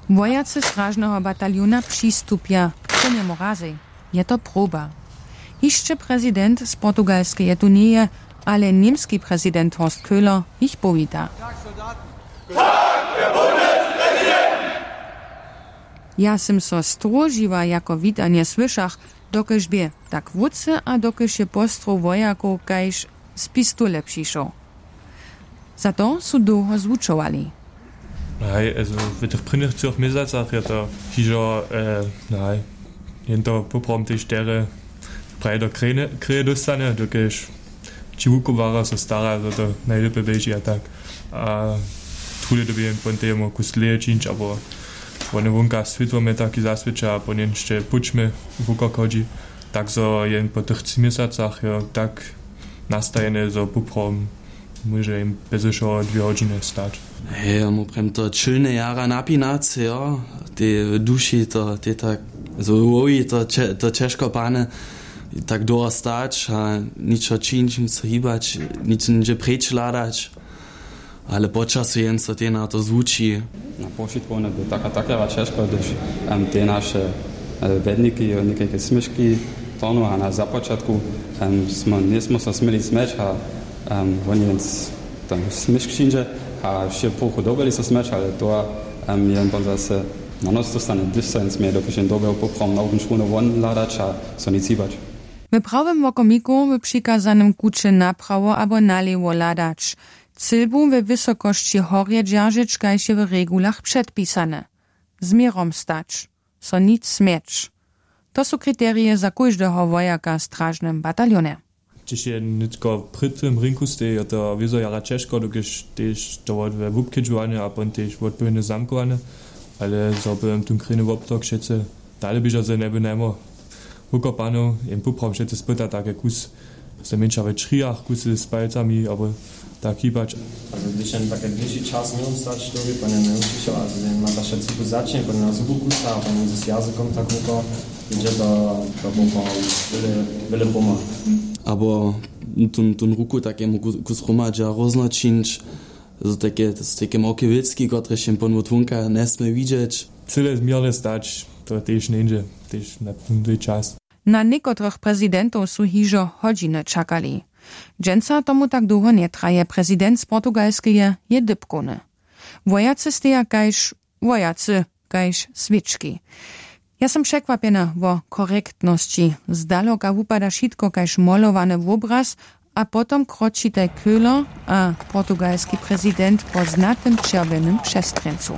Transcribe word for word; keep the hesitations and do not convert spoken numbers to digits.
Wojacy stražneho bataljona přistupja k tynjemu razej. Je to proba. Hišće prezident z Portugalskeje tu njeje, ale němski prezident Horst Köhler jich powita. Ja sym so stróžiła jako witanje słyšach, dokelž bě tak wótře a dokelž je postrow wojakow kaž z pistole přišoł. Za to su dołho zwučowali. Haj, also w tych prěnjych třoch měsacach je to hižo, haj, jen to poprawom tež derje praje do krejne krije dóstane, dokelž ći wukubłarjo so stara zo to najlěpje běži a tak. A druhdy dyrbi jen pon temu kus dlěje čińć abo wone wonka swětło mje taki zaswěća a pon jen sće pućmy wukok hodźi. Tak zo jen po tych tři měsacach jo tak nastajene zo poprawom móže jim bjez wšoho dwě hodźiny stać. Hej, ja mu prjem to čilne jara napinace jo, tej w duši to tej tak zo wowi to će- to ćežko pane, tak dołho stać a ničo čińć nic so hibać, nic něhdźe preč hladać. Ale po času jen so tej na to zwuči. Na powšitkowne by taka takera ćežko hdyž te naše wjedniki jo někajke směški tonu a na započatku smy njejsmy so směli smjeć a woni jen tam směšk přińdźe a wšě połchu dobyli so smjeć ale to jen pon zase na nos dóstane hdyž so jen směje dokelž jen dobył poprawom na wuběnčkownu won hladać a so nic hibać. W prawym wokomiku w přikazanym kuće naprawo abo nalěwo hladać. Cylbu we wysokosći horje dźeržeć kaž je w regulach předpisane. Z měrom stać, so nic smjeć. To su kriterije za kóždeho wojaka w stražnym bataljonje. Hdźež je nětko před tym rinku steji jo to wězo jara ćežko dokelž tež to wot we wubkedźowanje a pon tež wotpowědne zamkowanje. Ale zo by wam tón krejny wobtok wšetcy dale běžał zo njeby najmo wukopany. Jen poprawom wšetcy spyta take kus znajmjeńša we črijach kusy z palcami abo tak hibać. Hdyž jen take dlěši čas njemóhł stać to bě pon jen njemóhł přišoł a jen ma ta wšetcy kus začnje pon jen na zubu kusa a pon jen z jazykom tak woko jědźe do do boka. Wjele wjele pomha. Abo tón tón ruku tak jemu kus hromadźa rózno čińć z take z take małke wěcki kotrež jen pon wot wonka njesmě widźeć. Cyle změrnje stać to tež njeńdźe tež na tón dłi čas. Na někotrych prezidentow su hižo hodźiny čakali. Dźensa tomu tak dołho njetraje prezident z portugalskeje je dypkowny. Wojacy steja kaž wojacy kaž swěčki. Ja sym překwapjena wo korektnosći. Zdaloka wupada wšitko kaž molowane wobraz. A potom kroćitaj köhler a portugalski prezident po znatym čerwjenym přestrjeńcu.